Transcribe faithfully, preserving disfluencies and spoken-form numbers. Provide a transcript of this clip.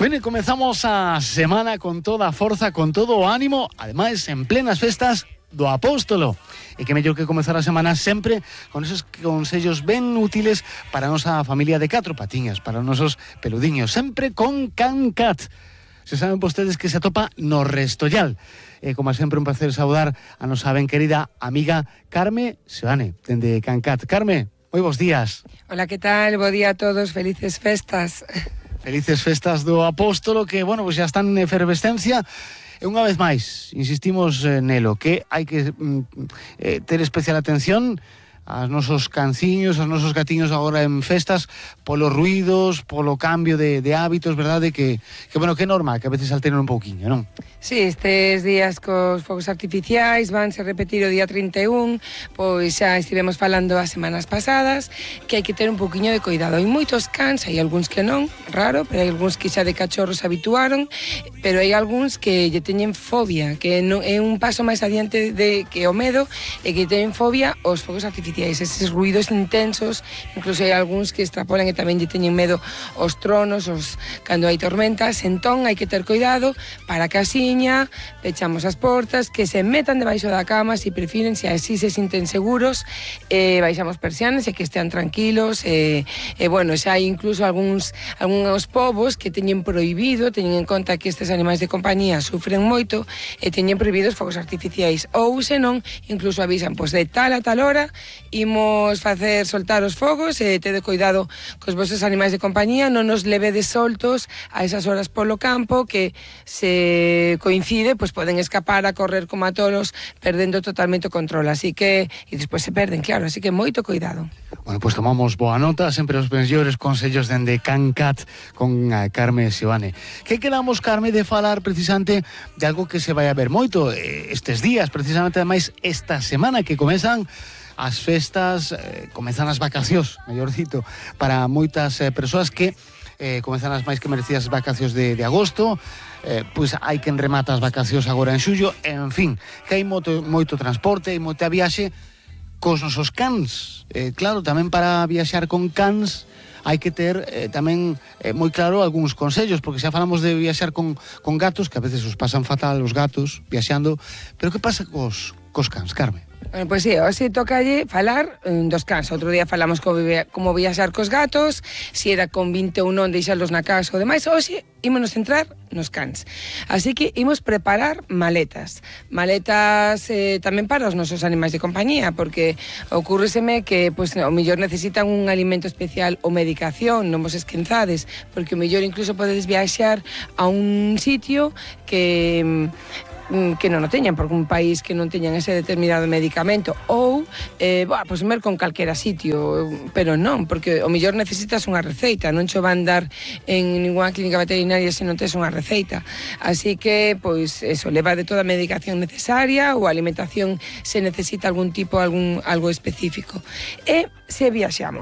Bueno, comezamos a semana con toda a forza, con todo o ánimo, ademais en plenas festas do Apóstolo. E que mellor que comezar a semana sempre con esos consellos ben útiles para a nosa familia de catro patiñas, para os nosos peludiños, sempre con CanCat. Se saben vostedes que se atopa no Restollal. E como sempre un placer saudar a nosa ben querida amiga Carme Seoane, dende CanCat. Carme, moi bons días. Hola, que tal? Bo día a todos, felices festas. Felices festas do Apóstolo, que, bueno, pues xa están en efervescencia. E unha vez máis, insistimos eh, nelo, que hai que mm, eh, ter especial atención aos nosos canciños, aos nosos gatiños agora en festas, polos ruidos, polo cambio de, de hábitos, verdade? Que, que, bueno, que é normal, que a veces alteren un pouquiño, non? Sí, estes días cos fogos artificiais vanse repetir o día trinta e un, pois xa estivemos falando as semanas pasadas que hai que ter un pouquiño de cuidado. Hai moitos cans, hai algúns que non, raro, pero hai algúns que xa de cachorros se habituaron, pero hai algúns que lle teñen fobia, que non, é un paso máis adiante de que o medo, e que teñen fobia aos fogos artificiais, eses ruidos intensos. Incluso hai algúns que extrapolan e tamén lle teñen medo aos tronos, os, cando hai tormentas. Entón hai que ter cuidado para que así pechamos as portas, que se metan debaixo da cama se prefiren, se así se sinten seguros, eh, baixamos persianas e que estean tranquilos. E eh, eh, bueno, xa hai incluso algúns algúns povos que teñen prohibido, teñen en conta que estes animais de compañía sufren moito e teñen prohibidos fogos artificiais, ou senón incluso avisan, pois de tal a tal hora imos facer soltar os fogos, e tede cuidado cos vosos animais de compañía, non nos levedes soltos a esas horas polo campo, que se coincide, pois poden escapar a correr como a tolos, perdendo totalmente o control, así que, e despois se perden, claro, así que moito cuidado. Bueno, pois pues tomamos boa nota, sempre os mellores consellos dende CanCat con a Carme Seoane. Que queramos, Carme, de falar precisamente de algo que se vai a ver moito estes días, precisamente ademais esta semana que comezan as festas, eh, comezan as vacacións, mellor dito, para moitas eh, persoas que eh, comezan as máis que merecidas vacacións de, de agosto. Eh, pois hai quen remata as vacacións agora en xullo, en fin, que hai moito, moito transporte, hai moita viaxe cos nosos cans. Eh, claro, tamén para viaxar con cans hai que ter eh, tamén eh, moi claro algúns consellos, porque xa falamos de viaxar con, con gatos, que a veces os pasan fatal os gatos viaxando, pero que pasa cos, cos cans, Carme? Bueno, pois sí, hoxe tocalle falar um, dos cans. Outro día falamos como, como viaxar cos gatos, se era con vinte ou non deixarlos na casa ou demais. Hoxe ímonos centrar nos cans. Así que imos preparar maletas. Maletas eh, tamén para os nosos animais de compañía, porque ocurríseme que pois, o mellor necesitan un alimento especial ou medicación, non vos esquenzades, porque o mellor incluso podedes viaxar a un sitio que... que non o teñan, porque un país que non teñan ese determinado medicamento, ou eh, bah, pois mer con calquera sitio, pero non, porque o mellor necesitas unha receita, non cho van dar en ninguna clínica veterinaria se non tes unha receita. Así que, pois, eso, leva de toda a medicación necesaria, ou a alimentación se necesita algún tipo, algún algo específico. E se viaxamos